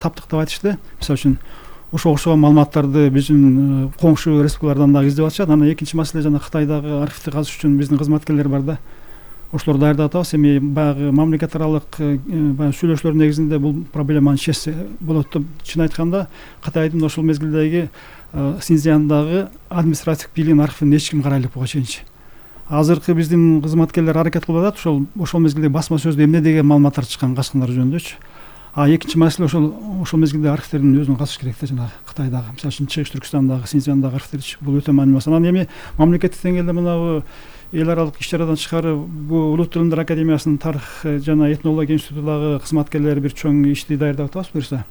таптык деп айтышты. Мисалы үчүн ошого окшогон маалыматтарды биздин коңшу республикалардан дагы издеп атышат. Анан экинчи маселе жана Кытайдагы архивди казыш үчүн биздин кызматкерлер бар да. Ошолорду даярдап атабыз. Эми баягы мамлекет аралык баягы сүйлөшүүлөр негизинде бул проблеманы чечсе болот деп чын айтканда Кытайдын ошол мезгилдеги Синьцзяндагы административдик бийлигинин архивин эч ким карай элек буга чейинчи. Азыркы биздин кызматкерлер аракет кылып атат ошол мезгилде басма сөздө эмне деген маалыматтар чыккан качкындар жөнүндөчү. Экинчи маселе ошол мезгилде архивдердин өзүн казыш керек да, жанагы Кытайдагы, мисалы үчүн Чыгыш Түркүстандагы, Синьцзяндагы архивдерчи. Бул өтө маанилүү маселе. Анан эми мамлекеттик деңгээлде мынабу эл аралык иш-чарадан тышкары бул Улуу тилимдер академиясынын тарых жана этнология институтундагы кызматкерлери бир чоң ишти даярдап атабыз буюрса.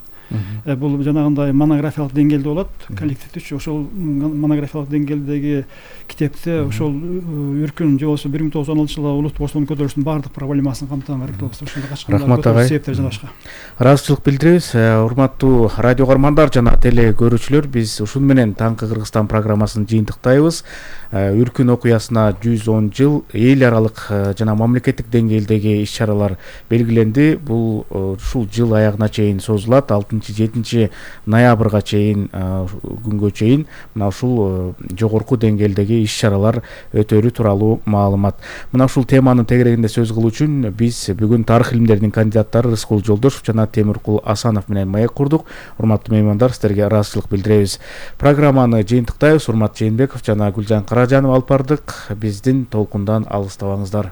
Бул жанагындай монографиялык деңгээлде болот, коллективдүү. Ошол монографиялык деңгээлдеги китепте ошол үркүн же болбосо 1916 жылы улуттук бостонун көтөрүлүшүнүн баардык проблемасын камтыган керек болот. Ошондой Рахмат агай. Себептер жана башка. Ыраазычылык билдиребиз. Урматтуу радио көрөрмандар жана теле көрүүчүлөр, биз ушун менен Таңкы Кыргызстан программасын жыйынтыктайбыз. Үркүн окуясына 110 жыл эл аралык жана мамлекеттик деңгээлдеги иш-чаралар белгиленди. Бул ушул жыл аягына чейин созулат. 6-7 ноябрга чейин күнгө чейин мына ушул жогорку деңгээлдеги иш-чаралар өтөрү тууралуу маалымат. Мына ушул теманын тегерегинде сөз кылуу үчүн биз бүгүн тарых илимдеринин кандидаттары Рыскул Жолдошов жана Темиркул Асанов менен маек курдук. Урматтуу меймандар, сиздерге ыраазычылык билдиребиз. Программаны жыйынтыктайбыз. Урмат Жээнбеков жана Гүлжан Каражанова алып бардык. Биздин толкундан алыстабаңыздар.